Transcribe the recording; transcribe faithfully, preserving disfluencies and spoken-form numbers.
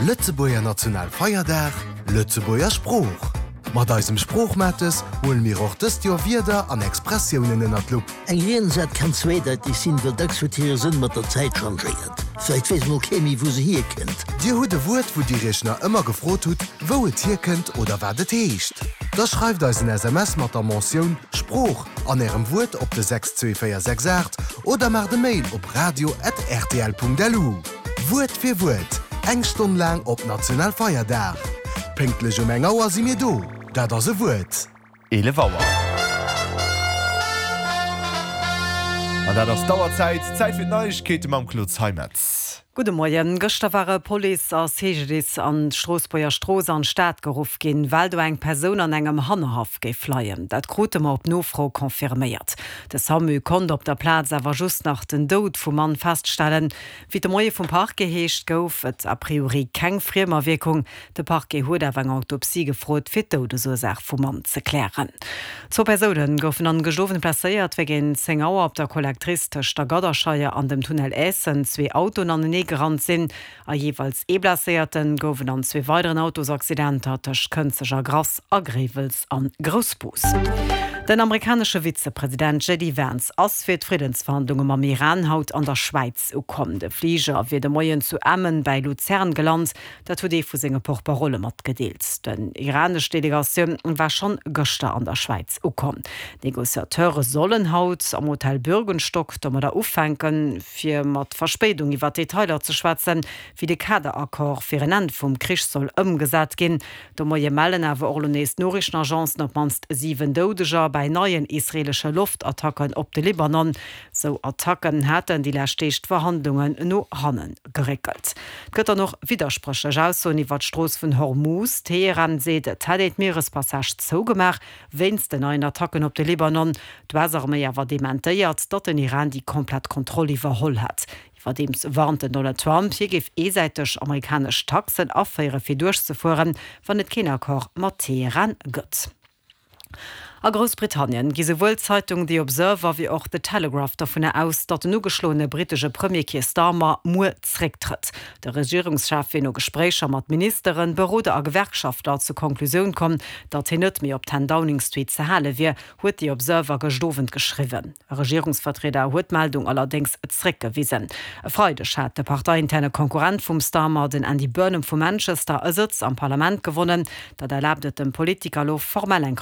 Lëtzebuerger Nationalfeierdag, Lëtzebuerger Sprooch. Mat eisem Sproochmates huele mir och dëst Joer Wierder an Expressiounen ënnert d'Lupp. Eng Riedensart kann zweedeiteg sinn, well dacks huet hire Sënn mat der Zäit changéiert. Vläicht weess mol kee méi, wou se hierkënnt. Dir hutt e Wuert, wou dir iech nach ëmmer gefrot hutt, wou et hierkënnt oder wat et heescht. Da schreift eis en S M S mat der Mentioun Sprooch an ärem Wuert op de sechs zwee véier sechs aacht oder maacht e Mail op radio at R T L Punkt L U. Wuert fir Wuert, eng Stonn laang op Nationalfeierdag. Pénktlech um eng Auer si mir do. Dat ass e Wuert. eelef Auer. An dat ass d'Auerzäit, Zäit fir d'Neiegkeete mam Claude Zeimetz. Gudde Moien. Gëschter ware Police a C G D I S an d'Stroossbuerger Strooss an d'Stad geruff ginn, well do eng Persoun an engem Hannerhaff géif leien. Dat krute mer op Nofro confirméiert. De SAMU konnt op der Plaz awer just nach den Doud vum Mann feststellen. Wéi et de Moie vum Parquet heescht, gouf et a priori keng Friemawierkung. De Parquet huet awer eng Autopsie gefrot, fir d'Doudesursaach vum Mann ze klären. Zwou Persoune goufen an gëschter Owend blesséiert, wéi géint zéng Auer op der Collectrice tëscht der Gadderscheier an dem Tunnel Eessen zwee Autoen anenee gerannt sinn. A jeeweils ee Blesséierte gouf et an zwee weideren Autosaccidenter tëscht Kënzeg a Grass a Gréiwels an Groussbus. Den amerikanesche Vizepresident J D Vance ass fir d'Friddensverhandlunge mam Iran haut an der Schwäiz ukomm. De Fliger wier de Moien zu Emmen bei Luzern gelant, dat huet ee vu senge Porte-parole matgedeelt. Déi iranesch Delegatioun war schonn gëschter an der Schwäiz ukomm. D'Negociateure sollen haut am Hotel Bürgenstock domadder ufänken, fir mat Verspéidung iwwer Detailer ze schwätzen, wéi de Kaderaccord fir en Enn vum Krich soll ëmgesat ginn. De Moie mellen awer och nees Noriichtenagencen op d'mannst siwen Doudeger bei neien israeelesche Loftattacken op de Libanon. Sou Attacken haten déi lescht Deeg d'Verhandlungen no hanne geréckelt. Et gëtt dann och widderspréchlech Aussoen iwwer d'Strooss vun Hormuz. Teheran seet, et hätt een d'Mierespassage zougemaach wéinst den neien Attacken op de Libanon. D'U S-Arméi awer dementéiert, datt den Iran déi komplett Kontroll iwwerholl hätt. Iwwerdeems warnt den Donald Trump, hie géif eesäiteg amerikanesch Taxen aféiere fir duerchzefueren, wann et keen Accord mat Teheran gëtt. A Groussbritannien gi souwuel d'Zeitung The Observer wéi och The Telegraph dovun aus, datt den ugeschloene brittesche Premier Keir Starmer muer zrécktrëtt. De Regierungschef wier no Gespréicher mat Ministeren, Beroder a Gewerkschaftler zur Konklusioun komm, datt hien net méi op ten Downing Street ze hale wier, huet The Observer gëschter Owend geschriwwen. E Regierungsvertrieder huet d'Meldung allerdéngs zréckgewisen. E Freideg hat de parteiinterne Konkurrent vum Starmer, den Andy Burnham vu Manchester, e Sëtz am Parlament gewonnen. Dat erlaabt et dem Politiker elo formell eng